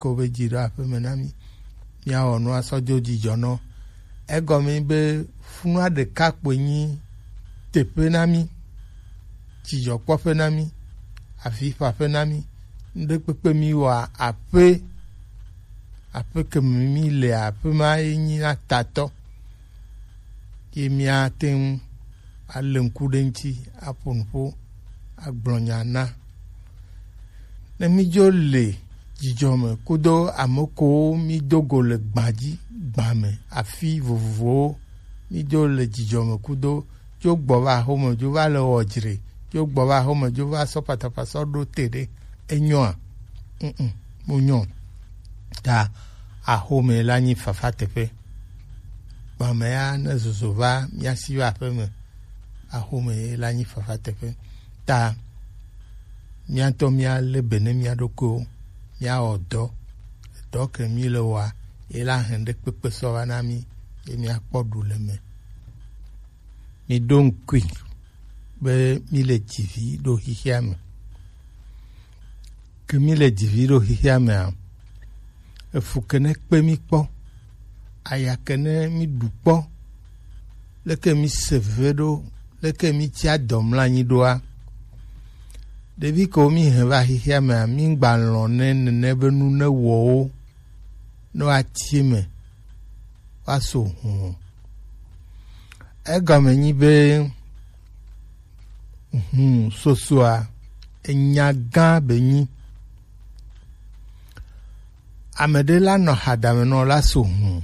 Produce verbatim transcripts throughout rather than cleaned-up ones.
ko be dzi ɖo aƒeme na mí. Míawɔ nu asɔ dzo dzidzɔ nɔ. Egɔme be funua ɖeka kpoe nyi teƒe na mí, dzidzɔkpɔƒe na mí, avifaƒe na mí. Ŋɖekpekpe mí wɔa aƒe, aƒe ke me mí le aƒe ma ye nyi na tatɔ. Ye míate ŋu alé ŋku ɖe ŋuti, aƒo nu ƒo, agblɔ nya na. Ne mídzo le dzidzɔ me kudo ame kowo mído go le gbã dzi, gbã me, afi vovovowo, mídzo le dzidzɔ me kudo, dzo gbɔ va axome, dzo va le wɔ dzre, dzo gbɔ va axome, dzo va sɔ patapata sɔ ɖo te ɖe, enyɔa? Mm, mm, mu nyɔ. Ta axome la nyi fafa teƒe. Gbã me ya ne zozo va mía si va aƒeme, axome ye la nyi fafa teƒe. Ta míatɔ míalé be ne mía ɖokuiwo, míawɔ dɔ, dɔ ke mí le wɔa, ye la hɛn ɖe kpekpe sɔ va na mí, ye míakpɔ ɖu le me. Mí ɖo ŋkui be mí le dzivi ɖo xixia me. Ke mí le dzivi ɖo xixia mea, efu ke ne kpe mí kpɔ, aya ke ne mí ɖu kpɔ, leke mí se ve ɖo, leke mí tsi adɔ mla anyi ɖoa? Ɖevi kewo mí hɛn va xixia mea, mí gba lɔ̃ ne nene be nu ne wɔ wo ne woatsi eme woaso hũ. Egɔme nyi be hũ sosoa enya gã be nyi. Ame ɖe la nɔ hadame nɔ la so hũ.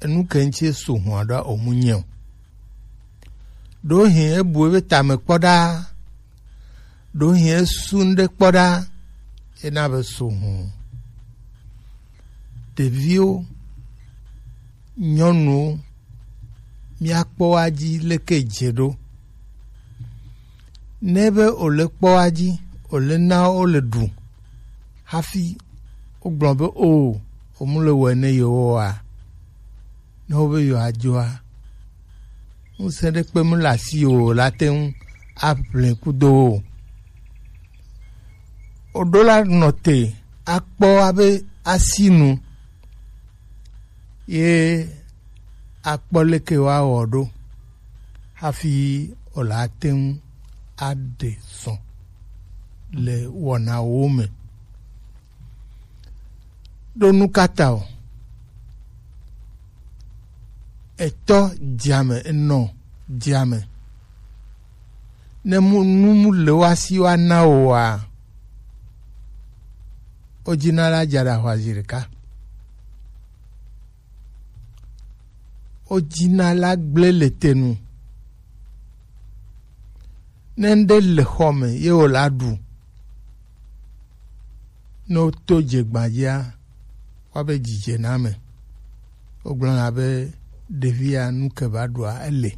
Enu ke ŋuti so hũa ɖo omu nyɛ o. Ɖewohĩ ebu ebe tame kpɔ ɖaa. Ɖewohĩ esu ŋɖe kpɔ ɖaa. Ena be so hũ. Ɖeviwo, nyɔnuwo, míakpɔ wa dzi leke dze ɖo. Ne be wòle kpɔ wa dzi, wòle na wo le ɖu hafi wogblɔ be o, womu le wɔe ne yewoa, ne wobe yewoadzoa, ŋusẽ ɖe kpe mu le asi o la te ŋu aʋlẽ kudo wo. Woɖo la nɔ te akpɔ abe asinu ye akpɔ leke woawɔ ɖo hafi wòle ate ŋu aɖe zɔ le wɔnawo me. Ɖo nu ka ta o? Etɔ dziame, enɔ dziame. Ne mu nu mu le wa si wa na o wa, o dzina la dza ɖa hwa zi ɖeka. O dzina la gblẽ le te nu. Ne ŋɖe le xɔ me ye wòla ɖu, ne woto dze gbadzia, woabe dzidze na ame. Wogblɔna be ɖevia nu ke va ɖua ele.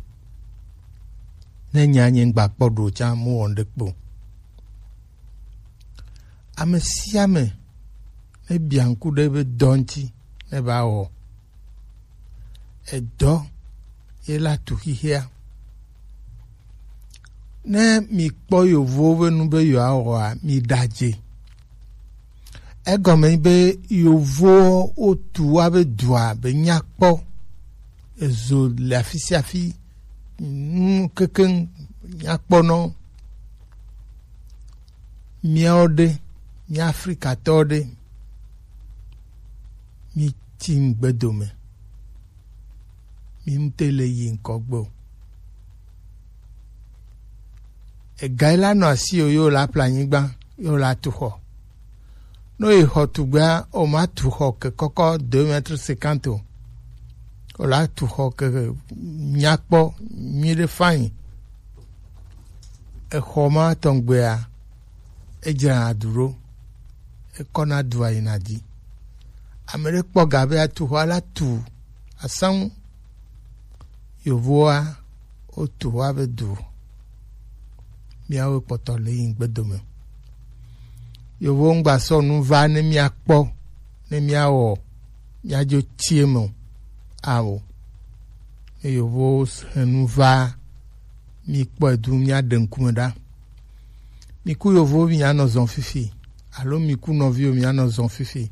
Ne nya nye ŋgba kpɔ ɖo tsã mu wɔ ŋɖe kpo. Ame sia ame ne bia ŋku ɖe ebe dɔ ŋuti ne va wɔ. Edɔ ye la tu xixia. Ne mi kpɔ yovowo be nu be yewoa wɔa, mi ɖadze. Egɔme be yovowo wotu wa be dua be nyakpɔ. Ezo le afi sia afi, nu kekeŋ nyakpɔnɔ. Míawo ɖe, mía Afrikatɔwo ɖe, mí tsi ŋgbe dome. Mí ŋute le yi ŋkɔ gbe o. Ega yi la nɔ asi o, yo la ƒle anyigba, yo la tu xɔ. Ne yi xɔ tugbea, o ma tu xɔ ke kɔkɔ deux mètres cinquante o. O la tu xɔ ke nyakpɔ nyuiɖe fain. Exɔ ma tɔngbea, edzrana du ɖo, ekɔna dua yina dzi. Ame ɖe kpɔ ga be atu xɔ la tu asaŋu. Yovoa, wotu xɔa be du. Míawo kpɔtɔ le yi ŋgbe dome. Yovowo ŋgba sɔ nu va ne míakpɔ, ne míawɔ, míadzo tsi eme o. Ao. Ne yovowo hɛn nu va, míkpɔe du, míaɖe ŋkume ɖa. Mi ku yovowo, mianɔ zɔn fifi, alo mi ku nɔviwo, mianɔ zɔn fifi.